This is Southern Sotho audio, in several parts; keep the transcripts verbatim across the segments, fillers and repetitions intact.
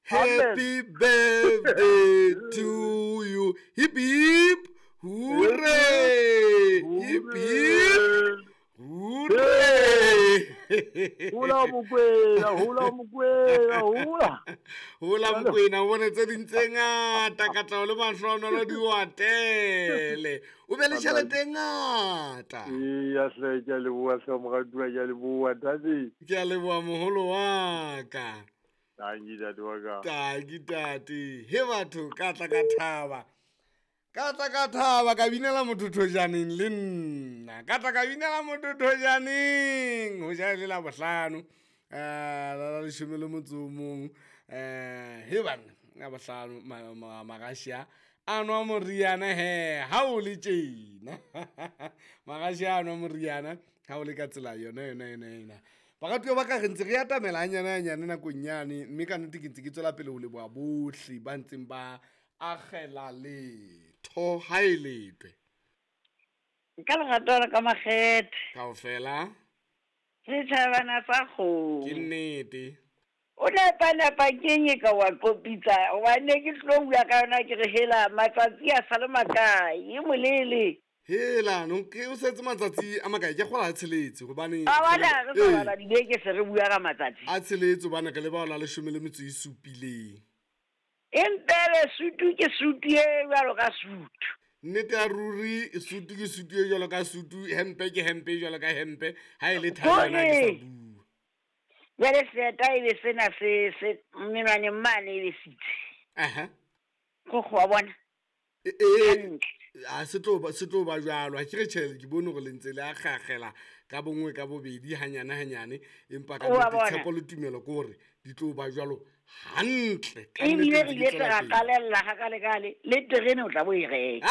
Happy birthday to you. Hip hip hooray. Hip hip hooray. Hola Mokwena, hola Mokwena, hola. Hola Mokwena, o bone tse ding tse ngata katleho le mahlohonolo di o atele. O be le tjhelete e ngata. Eya hle, ke a leboha hle moratuwa, ke a leboha ntate. Ke a leboha moholo wa ka. Tanki ntate wa ka. Tanki tate. He batho ka tla ka thaba. Ka tla ka thaba ka binela motho thojaneng le nna. Ka tla ka binela motho thojaneng. Ho ja le la bohlano. Eh la la leshome le motso o mong. Eh he banna la bohlano Magashi a nwa moriana he ha o le tjena. Magashi a nwa moriana ha o le ka tsela yona yona yona yona. Baratuwa ba ka re ntse re atamela hanyane hanyane nakong yane, mme ka nnete ke ntse ke tswela pele ho leboha bohle ba ntseng ba akgela letho ha e letwe. Ka lerato la ka makgethe. Kaofela. Setjhabana sa kgomo. Ke nnete. O nepa-nepa keng e ka wa qopitsa, hobane ke tlo bua ka yona ke re hela matsatsi a sa le makae, e molele. Hela, no ke o setse matsatsi a makae, ke kgola a tsheletse hobane A bona, re sa bala dibeke se re bua ka matsatsi. A tsheletse hobane re le bao la leshome le metso e supileng. Empele sutu ke sutu e jwalo ka sutu. Nnete ya ruri, sutu ke sutu e jwalo ka sutu, hempe ke hempe e jwalo ka hempe, ha e le thai yona ke sa bua. Jwale seeta e be sena se, se menwaneng mane e be sitse. Aha. Kgokgo wa bona. E, e, Hantle. a se tlo ba, se tlo ba jwalo. Ha ke re tjhe, ke bone hore le ntse le akgakgela ka bongwe ka bobedi hanyane hanyane, empa ka O wa nnete bona. tshepo le tumelo ke hore di tlo ba jwalo hantle. Ka Ebile nnete re ntse di ile tswela ra pele. qalella ha kale kale, le terene o tla bo e reka.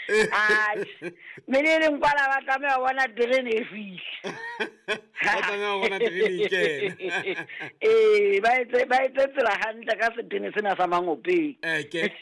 Atjhe, mme le leng kwala ba tlameha ho bona terene e fihla. Ba tlameha ho bona terene e kena. Ee, ba etse, ba etse tsela hantle ka setene sena sa Mangopeng. Eke.